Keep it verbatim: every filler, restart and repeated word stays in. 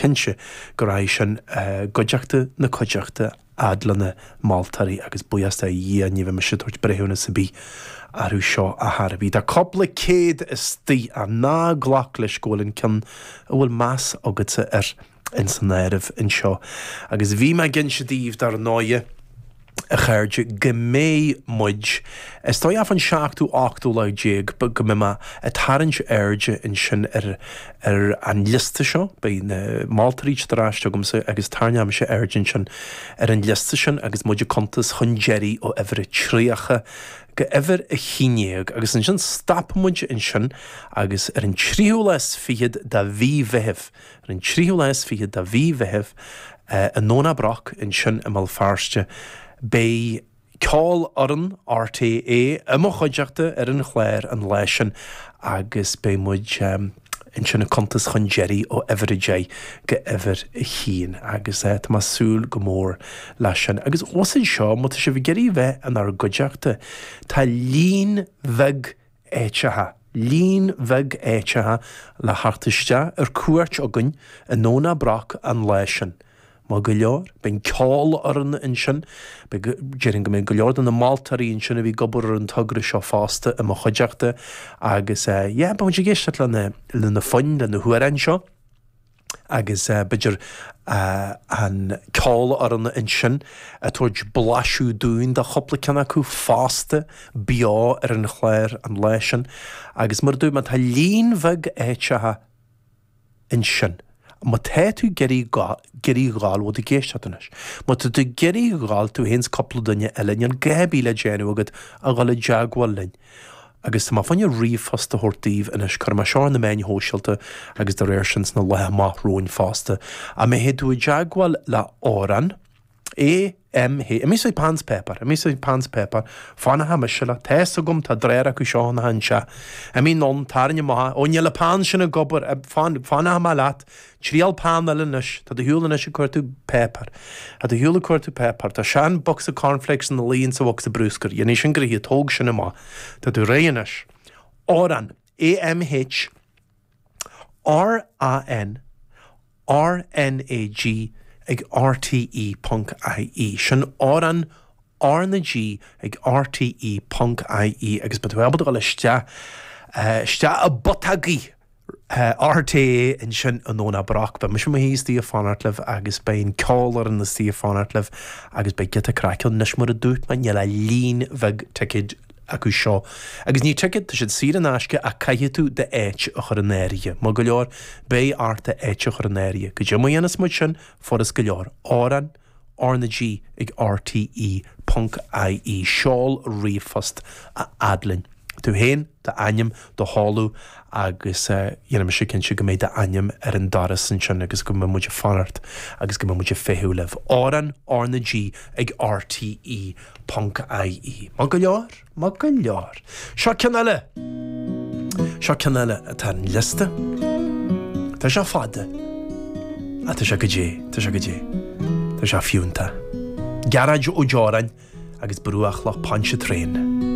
Cinnte go raibh sin i gcuideachta na cuideachta fhad le na moltóirí agus buíochas do Dhia ní bheidh mise ag tabhairt breithiúnas ar bith orthu seo a thairbhí. Tá cúpla céad istigh ach ná glac leis go bhfuil an ceann a bhfuil meas agatsa air ins an áireamh anseo. Agus bhí mé ag inse daoibh dar ndóighe, a chairde, go mbeidh muid, is dóigh fán seachtú, ochtú lá déag, go mbeidh mé ag tarraingt airde ansin ar ar an liosta seo, beidh na moltóirí ar ais agamsa agus tarraingeoidh mise aird ansin ar an liosta sin agus muid ag cuntas chun deiridh ó uimhir a tríocha go uimhir a haon déag agus ansin stopfaidh muid ansin agus ar an tríú lá is fichead de mhí Mheithimh, ar an tríú lá is fichead de mhí Mheithimh, i nDomhnach Broc ansin i mBéal Feirste, beidh ceolfhoireann RTÉ i mo chuideachta ar an chlár an lá sin agus beidh muid ansin ag cuntas chun deiridh ó uimhir a deich go uimhir a haon agus tá mé ag súil go mór leis sin. Agus os seo, má tá sibh ag iarraidh bheith inár gcuideachta, tá líon bheag áiteacha, líon bheag áiteacha le theacht isteach ar cuairt againn i nDomhnach Broc an lá sin. Maith go leor, beidh an ceolfhoireann ansin, beidh, déarfainn go mbeidh go leor de na moltóirí ansin a bhí ag obair ar an togra seo fosta i mo chuideachta agus eh yeah, beidh muid ag éisteacht le na, le na foinn, le na hamhráin seo agus eh b'fhéidir eh an ceolfhoireann ansin ag tabhairt blaiseadh dúinn de chúpla ceann acu fosta beo ar an chlár an lá sin agus mar a dúirt mé tá líon bheag áiteacha ansin. Má tá tú ag iarraidh ag iarraidh ghabháil, bhfuil tú ag éisteacht anois? Má tá tú ag iarraidh ghabháil, tú féin 's cúpla duine eile, níl gá ar bith le déanamh agat ach dhul i dteagmháil linn. Agus tá mé fá choinne ríomhphost a thabhairt daoibh anois, cuirfidh mé seo ar na meáin shóisialta agus dá réir sin sna laetha amach romhainn fosta. Ach má théann tú i dteagmháil le Amhrán, A M H, Imigh sa peann 's páipéar, imigh sa peann 's páipéar, fanfaidh mise leat, tá 'fhios agam, tá dréar acu seo ina anseo. Imigh anonn, tarraing amach, ó níl an peann sin ag obair, fan, fanfaidh mé leat, triail peann eile anois, tá do shiúl anois ag cuartú páipéar, tá do shiúl ag cuartú páipéar, tá sean bocsa cornflakes ina luí insa bhocsa brúscair, dhéanfaidh sin gnoithe, tóg sin amach, tá tú réidh anois. Amhrán, A M H R A N R N A G ag R T E ponc I E. Sin Amhrán R na G ag R T E ponc I E agus beidh tú ábalta dul isteach isteach i bputógaí R T E ansin i nDomhnach Broc. Beidh mise i mo shuí istigh ag fanacht libh agus beidh an ceolfhoireann istigh ag fanacht libh agus beidh giota craic ann. Anois mar a dúirt mé níl ach líon bheag ticéid acu seo. Agus ní ticéid, tá siad saor in aisce ach caithfidh tú d'áit a chur in áirithe. Maith go leor, beidh ort d'áit a chur in áirithe. Goidé mar a dhéanas muid sin, furas go leor. Amhrán R na G ag R T E ponc I E. Seol ríomhphost a fhad linn. Tú féin, d'ainm, do sheoladh agus dhéanfaidh mise cinnte go mbeidh d'ainm ar an doras ansin agus go mbeidh muid ag fanacht agus go mbeidh muid ag feitheamh libh. Amhrán R na G ag R T E ponc I E. Maith go leor, maith go leor. Seo ceann eile! Seo ceann eile atá ar an liosta. Tá sé fada. Ach tá sé go dé, tá sé go dé. Tá sé fiúntach. Gearóid Ó Deoráin agus Bruachlach Pontchartrain.